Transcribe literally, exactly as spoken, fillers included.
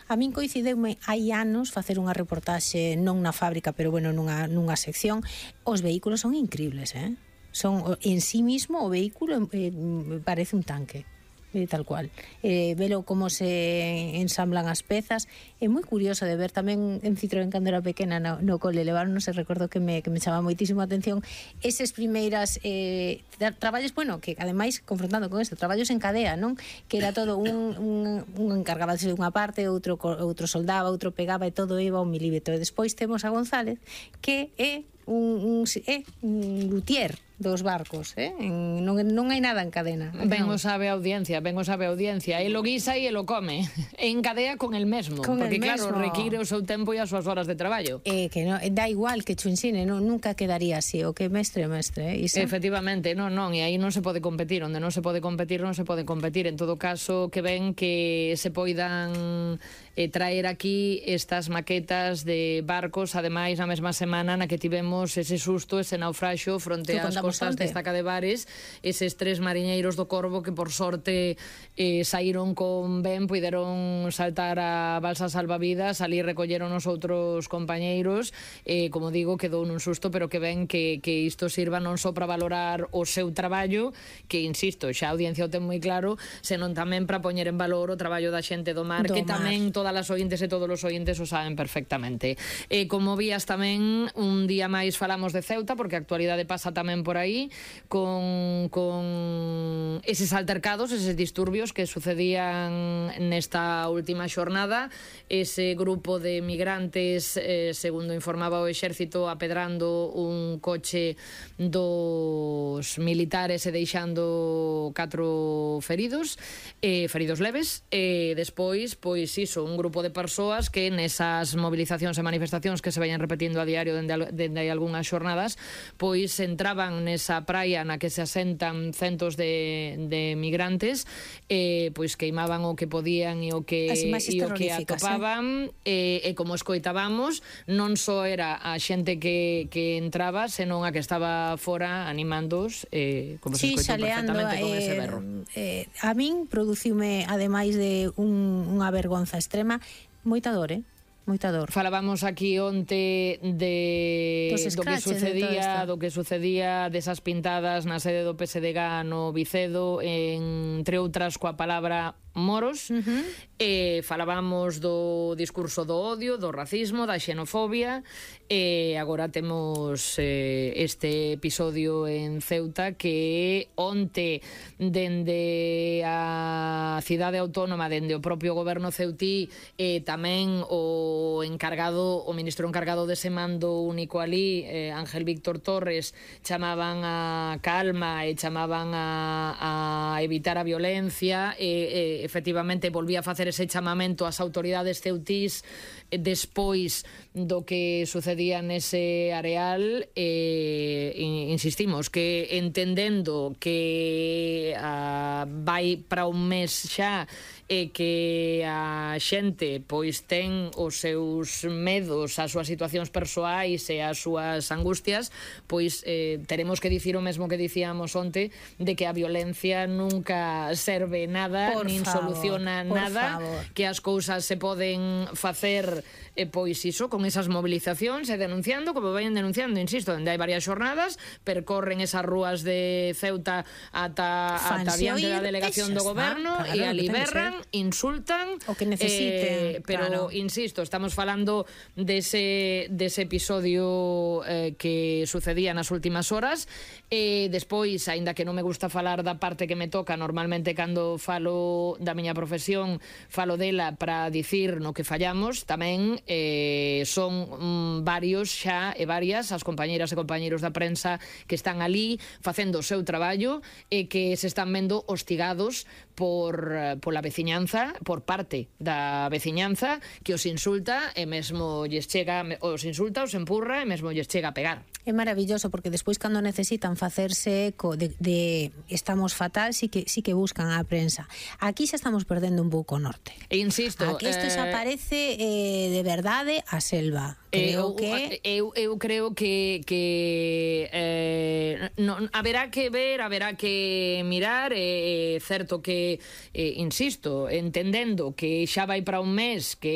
A min coincideume hai anos facer unha reportaxe non na fábrica, pero bueno, nunha, nunha sección. Os vehículos son increíbles, eh? Son en sí mismo o vehículo eh, parece un tanque. Eh, tal cual, eh, velo como se ensamblan as pezas. É moi curioso de ver tamén en Citroën cando era pequena no, no cole levaron, se recordo que me, que me chama moitísimo a atención esas primeiras eh, traballos, bueno, que ademais confrontando con isto, traballos en cadea, non? Que era todo un, un, un encargaba de unha parte, outro, outro soldaba, outro pegaba e todo iba a un milímetro. E despois temos a González que é un, un, é un luthier dos barcos, eh? En, non, non hai nada en cadena. Ben o sabe a audiencia, ben o sabe a audiencia. E lo guisa e lo come. En cadea con el mesmo. Con porque el claro, mesmo. require o seu tempo e as súas horas de traballo. Eh, que no, da igual que chu ensine, non, nunca quedaría así. O que mestre, mestre. Eh? Isa? Efectivamente, non, non. E aí non se pode competir. Onde non se pode competir, non se pode competir. En todo caso, que ven que se poidan eh, traer aquí estas maquetas de barcos, ademais, na mesma semana na que tivemos ese susto, ese naufraxo fronte ás costas de Estaca de Bares, eses tres mariñeiros do Corvo que por sorte eh, saíron con ben, puideron saltar a balsa salvavidas, ali recolleron os outros compañeiros, eh, como digo, quedou nun susto, pero que ven que, que isto sirva non só para valorar o seu traballo, que insisto, xa a audiencia o ten moi claro, senón tamén para poñer en valor o traballo da xente do mar, do que mar. Tamén todas as ointes e todos os ointes o saben perfectamente. Eh, como vías tamén, un día máis falamos de Ceuta, porque a actualidade pasa tamén por aí, con, con eses altercados, eses disturbios que sucedían nesta última xornada, ese grupo de migrantes, eh, segundo informaba o Exército, apedrando un coche dos militares e deixando catro feridos, eh, feridos leves, e despois, pois iso, un grupo de persoas que nesas movilizacións e manifestacións que se vayan repetindo a diario dende, dende hai algunhas xornadas, pois entraban nesa praia na que se asentan centos de, de migrantes, eh, pois queimaban o que podían e o que, e o que atopaban, eh? e, e como escoitábamos, non só era a xente que, que entraba, senón a que estaba fora animándoos, eh, como sí, se escoitou xaleando, perfectamente con eh, ese berro. Eh, a min produciume, ademais de un, unha vergonza extrema, moita dor, eh? Moita dor. Falábamos aquí onte de do que sucedía, do que sucedía desas pintadas na sede do P S D G no Vicedo, entre outras coa palabra moros, uh-huh. e falábamos do discurso do odio, do racismo, da xenofobia, e agora temos eh, este episodio en Ceuta que onte dende a cidade autónoma, dende o propio goberno ceutí, e tamén o encargado, o ministro encargado dese mando único ali, eh, Ángel Víctor Torres, chamaban a calma e chamaban a, a evitar a violencia, e, e efectivamente volvía a facer ese chamamento ás autoridades ceutís despois do que sucedía nese areal. E insistimos que entendendo que a, vai para un mes xa e que a xente pois ten os seus medos, as súas situacións persoais e as súas angustias, pois eh, teremos que dicir o mesmo que dicíamos onte, de que a violencia nunca serve nada, por nin favor, soluciona nada, favor. Que as cousas se poden facer eh, pois iso, con esas movilizacións e denunciando, como vayan denunciando, insisto, onde hai varias xornadas, percorren esas rúas de Ceuta ata, ata diante da delegación do goberno, claro, e ali berran, insultan o que necesiten, eh, pero claro. Insisto, estamos falando dese, dese episodio eh, que sucedía nas últimas horas, e despois, aínda que non me gusta falar da parte que me toca, normalmente cando falo da miña profesión falo dela para dicir no que fallamos, tamén eh, son mm, varios xa e varias as compañeiras e compañeiros da prensa que están ali facendo o seu traballo e que se están vendo hostigados por pola veciñanza, por parte da veciñanza, que os insulta e mesmo lles chega, os insulta, os empurra e mesmo lles chega a pegar. É maravilloso, porque despois cando necesitan facerse eco de, de estamos fatal, sí que, sí que buscan a prensa. Aquí xa estamos perdendo un pouco o norte. E insisto, aquí isto eh... xa parece eh, de verdade a selva. Creo eu, que eu, eu creo que, que eh, non, haberá que ver, haberá que mirar, é eh, certo que eh, insisto, entendendo que xa vai para un mes, que